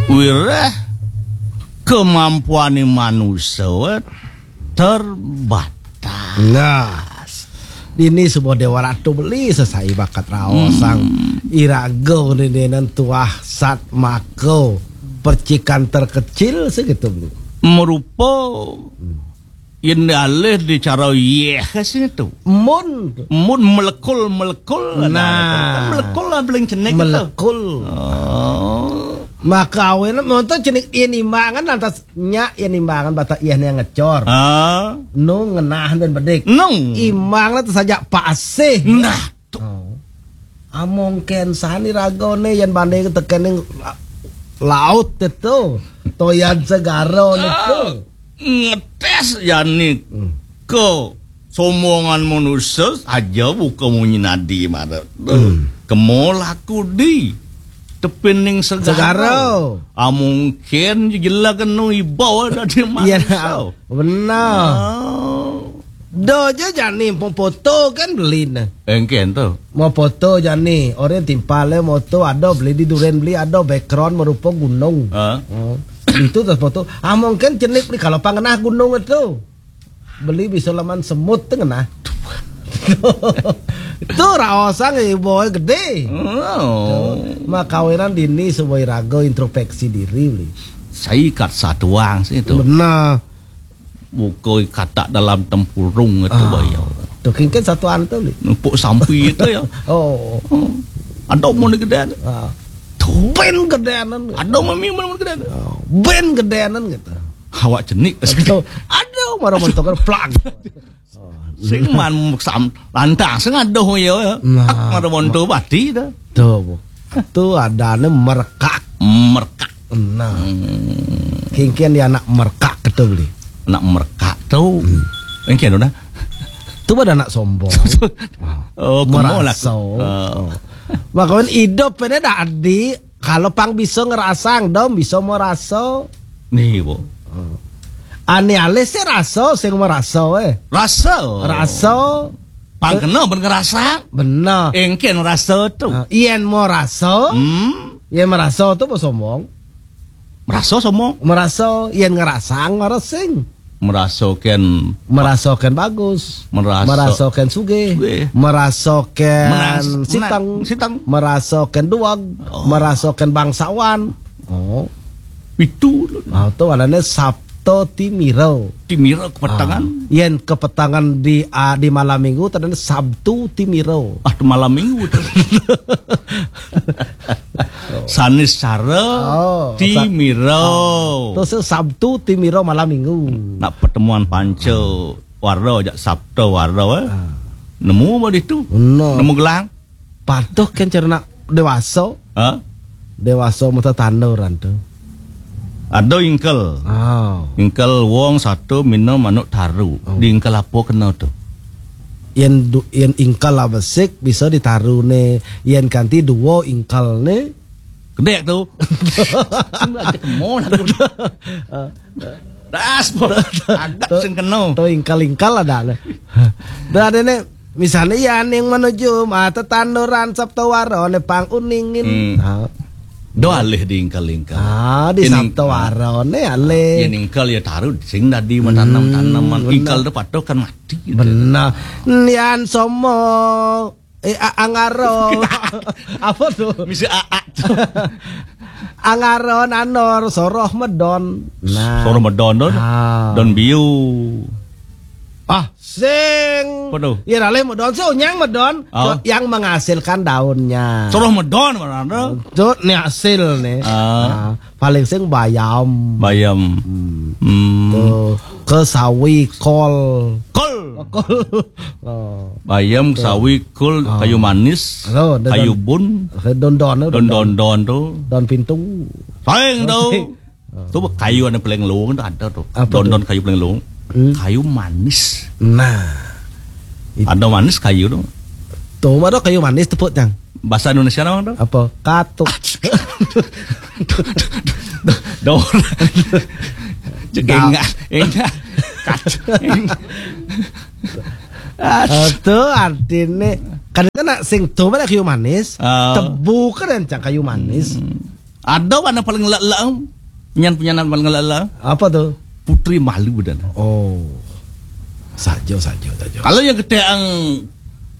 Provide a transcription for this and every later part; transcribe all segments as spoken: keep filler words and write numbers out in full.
Wiréh kemampuané manusa terbatas. Nah, dini suba Déwa Ratu Beli sesai bakat raosang. Hmm. Iraga nindénan tuah sat maka percikan terkecil segitu, Beli. Merupa yen alih di cara yéh sing tu. Mun. Mun melekul-melekul. Nah. Kan melekul lah beling cenik tu. Melekul. Oh. Maka awéné monto cenik yen imbangan lantas nyak yen imbangan bata yéh né ngecor. Ah. Nu ngenah dan bedik. Nung. Imbangan tu saja pasih. Nah. Oh. Among kén sani ragané yén banding tekening la-, laut itu. Toyan segara niku. Ah, ngetes jani. Hmm. Ke sombongan manusia aja buka munyi nadi mara. Hmm. Kemo laku di tepining segara. Segara. Among kén jelag kenu iba dadi manusia. Iya, benar. Oh. Do aja jani mau foto kan beli nah. Engkén tu. Mau foto jani, orang timpal moto ada beli di duren beli ada background merupa gunung. Ah. Oh. Itu terus foto. Ah, mungkin cenik ni kalau pangenah gunung itu. Beli bisa laman semut tu ngenah. Itu raosang ibu gedé. Oh. Makawinan dini sebuah raga introspeksi diri beli. Saya kat satuang sih tu. Benar. Buka katak dalam tempurung itu. Ah. Baya. Tu kingkin satuan tu, Li. Numpuk sampi itu ya. Oh. Hmm. Ada mau ni gedé. Ah. Tu. Ben gedénan. Ada mami mau gedé. Oh. Ben gedénan gitu. Awak cenik. Betul. Ada marah montok plak. Sing man sam lantang sing ada ya. Nah. Marah montok bati dah. Tu, Bu. Tu adané merekak. Merekak. Nah. Hmm. Kingkin dia anak merekak itu beli. Anak merekak tu. Hmm. Engkén dah. Tu pada anak sombong. Oh, kemo lah. Meraso. Ah. Oh. Makawinan hidup ini dah adi kalau pang bisa ngerasang dong bisa meraso. Nih, Bu. Oh. Ane alih sih raso sing meraso eh. Raso. Raso. Pang kena ben ngerasang. Benar. Engkén raso tu. Ah, yen meraso. Hmm. Yen meraso tu apa sombong? Meraso sombong. Meraso yen ngerasang ora sing. Meraso kén. Meraso kén bagus. Meraso. Meraso kén sugih. Sugih. Meraso kén menas-, siteng. Menas-, siteng. Meraso kén duweg. Oh. Meraso kén bangsawan. Oh. Itu. Ah, tu adané Sabto Timiro. Timiro kepetangan. Ah, yen kepetangan di, ah, di malam minggu tadane Sabtu Timiro. Ah, tu malam minggu tu. Saniscara oh, Timiro. Ah, terus Sabtu Timiro malam minggu. Nak pertemuan panca wara jak Sabto wara eh. Ah. Nemu apa ditu? Benar. Nemu gelang. Patuh kan cara nak dewasa. Ha? Dewasa mata tanduran tu. Ada ingkel. Oh. Ingkel wong satu minum manuk taru. Oh. Di ingkel apa kena tu? Yen du, yen ingkel lah besik bisa ditaru ne. Yen kanti dua ingkel ne. Kedek tu. Sing lagi kemo lah tu. Ah. Das, bos. Agak sing kena. Tu ingkel-ingkel ada lah. Dah ada ne. Misalnya ya ning menuju mata tanduran Sabto Waro ne pang uningin. Hmm. Ha. Do alih di ingkel-ingkel. Ah, di Sabto Waro ne alih. Yen ingkel ya taruh sing dadi menanam-tanaman. Hmm, ingkel tu patuh kan mati gitu. Benar. Nian somo eh a- angaro. Apa tu? Misi aak tu. Angaro nanor soroh medon. Nah. Soroh medon tu. Ah. Don biu. Ah, sing. Apa tu? Ya alih medon sih nyang medon. Oh. Yang menghasilkan daunnya. Soroh medon mana tu? Tu ni hasil ni. Ah. Ah, paling sing bayam. Bayam. Hmm. Hmm. Tu ke sawi kol. Kol. Kol. Oh. Bayam, tu. Sawi, kol, ah. Kayu manis, oh, kayu bun. Don-don tu. Don-don tu. Don pintu. Paling tu. Tu kayu anu paling luwung tu ada tu. Apa tu? Don-don kayu paling luwung. Hmm. Kayu manis. Nah. Ada manis kayu tu. Tu ada kayu manis tepuk tang. Bahasa Indonesia nama tu? Apa? Katuk. Dor. Cek enggak, enggak. Katuk. Ah, tu artine kan nak sing tu mana kayu manis, ah. Tebu kan encang kayu manis. Hmm. Ada warna paling lelak. Nyan punya nama paling lelak. Apa tu? Putri Malu dan. Oh. Saja, saja, saja. Kalau yang ketek ang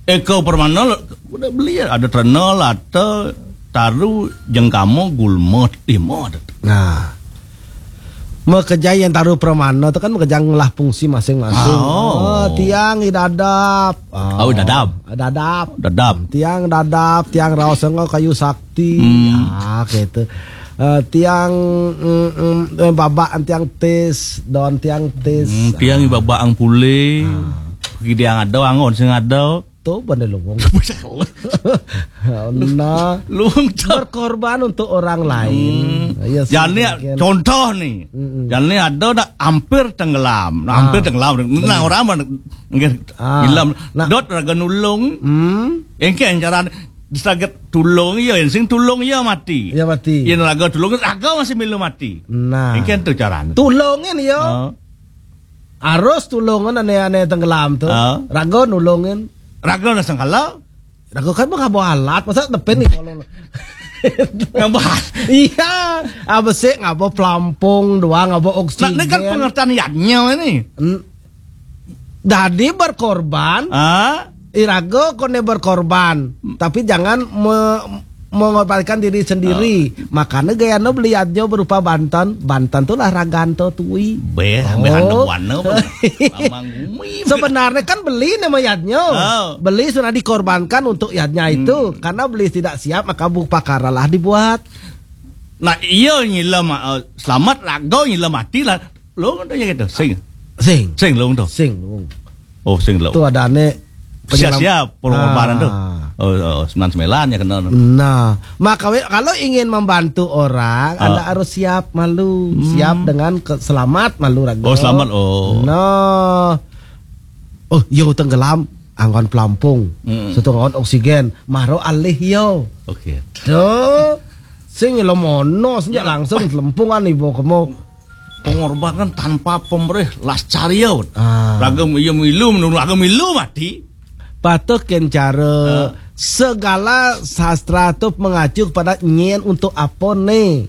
Eko Permana, udah beli ya. Ada Trenol, ada Taru, Jengkamo, Gulmo, Timo ada. Nah. Makejang taru permana tu kan makejang lah fungsi masing-masing. Oh. Oh, tiang i dadap. Oh, dadap. Dadap. Dadap. Tiang dadap, tiang raos enggau kayu sakti. Hmm. Ah, gitu. Eh, tiang mm, mm, eh, babak tiang tis, don tiang tis. Hmm, tiang i babak ang pule. Ah. Kidang ada, angon sing ada. Tu benda luwung. Nah, luwung tu. Berkorban untuk orang lain. Hmm. Ya, jani contoh ni. Mm-mm. Jani ada dah hampir tenggelam. Nah, hampir tenggelam. Nah, orang mana nggih ah, ilam. Nah. Dot raga nulung. Hmm. Engke encaran disaget tulung iya, sing tulung iya mati. Iya mati. Yen raga tulung, raga masih milu mati. Nah. Engke tu caran. Tulungin iya. Oh. Arus tulungan ane-ane tenggelam tu. Ah. Raga nulungin. Raga na sangkala. Raga kan mah ngabo alat, masa depan ni kalau ngabo alat. Iya, abesik ngabo pelampung doang, ngabo oksigen. Nah, ini kan pengertian yadnya ini. Dadi berkorban. Ah? Iraga kone berkorban, tapi jangan me- mengorbankan diri sendiri. Oh. Makanya gayana beli aja berupa banten. Banten tuh lah raganto tui. Beh, oh. Beh, anu buana, beh. Amang gumi. Sebenarnya kan beli nama yadnya. Oh. Beli sudah dikorbankan untuk yadnya itu. Hmm. Karena beli tidak siap, maka bupakaralah dibuat. Nah, iya nyila ma- eh, selamat raga nyila mati lah. Lung tu gitu. Sing. Sing. Sing lung tu. Sing lung. Oh, sing lung. Tu ada ane siap-siap pengorbanan tu. Ah. Oh, oh, sembilan sembilan ya kena tu. Nah, maka we- kalau ingin membantu orang, ah, anda harus siap malu. Hmm. Siap dengan ke- selamat malu raga. Oh, selamat. Oh. Nah. Oh, yo tenggelam anggon pelampung. Hmm. Satu anggon oksigen, maro alih yo. Oke. Tu sing lo mono sejak langsung lempungan ibu kamu. Pengorbanan tanpa pemrih las cariot. Ah. Raga iya milu menurut raga milu mati. Patut ken cara ah, segala sastra tu mengacu kepada nyen untuk apa ni?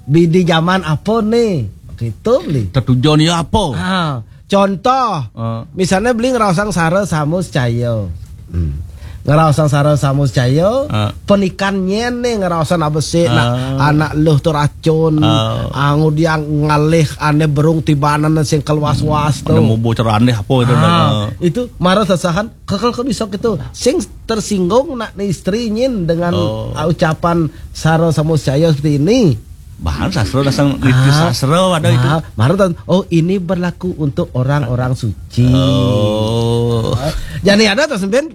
Bidi zaman apa ni? Gitu beli. Tertujuan iya apa? Ah, contoh, ah, misalnya beli ngeraosang sara samus caya. Hmm. Ngeraosang sara samus caya, ah, penikan nyen ni ngeraosang abesik nak ah, anak luh tu racun, ah, angu dia ngalih ane berung tibanan sing keluas-was tu. Ane mubu ceraneh apa itu ah, dah. Itu marah sasahan, kekel ke bisa gitu. Sing tersinggung nak ni istri nyin dengan oh, ucapan sara samus caya seperti ini. Bahan sastra dasar itu ah, sastra ada itu. Ah, marah tan, oh ini berlaku untuk orang-orang suci. Oh. Jadi ada tak sempin?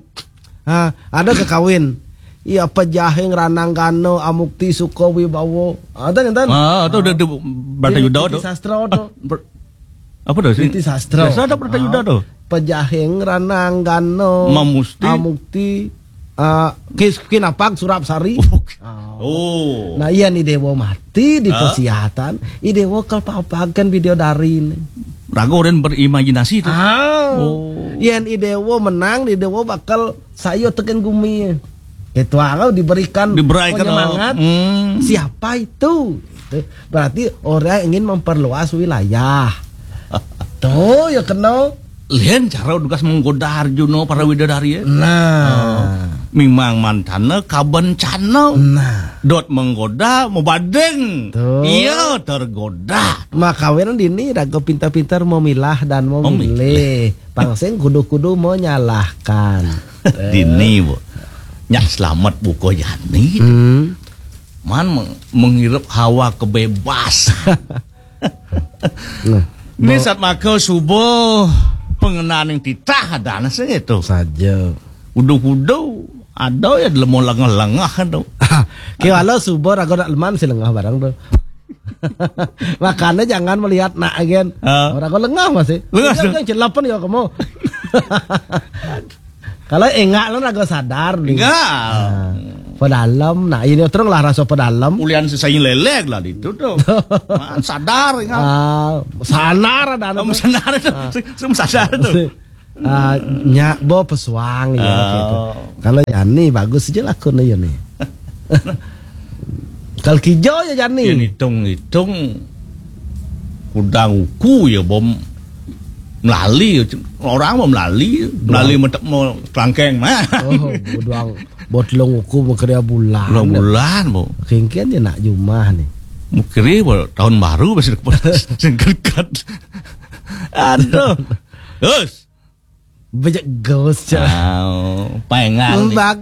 Ha, ada ke kawin. Iya pejahing ranang gano amukti suka wibawa. Ada ngenten? Ah, tu udah tu berarti udah tu. Sastra tu. Ber- apa tu? Siti sastra. Sastra ada berarti udah tu. Pejahing ranang gano. Mamusti. Amukti. Ah, kis kinapag surap sari. Oh. Oh. Nah, iya ni dewa mati di ah, pesihatan. I dewa kal papagan video dari ni. Ragu dan berimajinasi tu. Ah. Oh. Iya ni dewa menang, ni dewa bakal sayo teken gumi. Itu kalau diberikan, diberikan penyemangat. Hmm. Siapa itu? Itu berarti orang ingin memperluas wilayah. Tuh ya kena. Lian cara tugas menggoda Arjuna para widadari ya. Nah. Oh. Memang mantana kabencana. Nah. Dot menggoda, mau badeng. Tuh. Iya tergoda. Maka weran dini raga pintar-pintar memilah dan memilih. Memilih. Pangsing kudu-kudu menyalahkan. Dini, Bu. Nyak selamat buka jani. Hmm. Man meng- menghirup hawa kebebasan. Nah, ini bo- saat maka subuh pengenaan yang titah ada sing itu. Saja. Udu-udu ada ya lemo lengah-lengah tu. Kira subuh raga nak leman si lengah barang tu. Makanya jangan melihat nak agen. Ah. Orang kau lengah masih. Lengah. Jangan celapan ya kamu. Kalau enggak lah raga sadar ni. Enggak. Nah, pedalem. Nah, ini terang lah rasa pedalem. Ulian sesai lelek lah itu tu. Man sadar enggak. Ah, sanar ada. Oh, sadar tu. Ah. Sem- sem sadar tu. Ah, nyak bo pesuang ya gitu. Oh. Kalau yani bagus aja lakon ya ni. Kal kijo ya jani. Yen hitung-hitung kudang uku ya bom melali. Orang mau melali, melali mentek mau kelangkeng mah. Oh, buduang botlong uku mau kerja bulan. Bulan, bulan, bu. Kengken ya nak jumah nih. Mau kiri, bu, tahun baru masih dapat singkat. Aduh. Terus. Banyak ghost, Cak. Oh, pengal nih. Bag-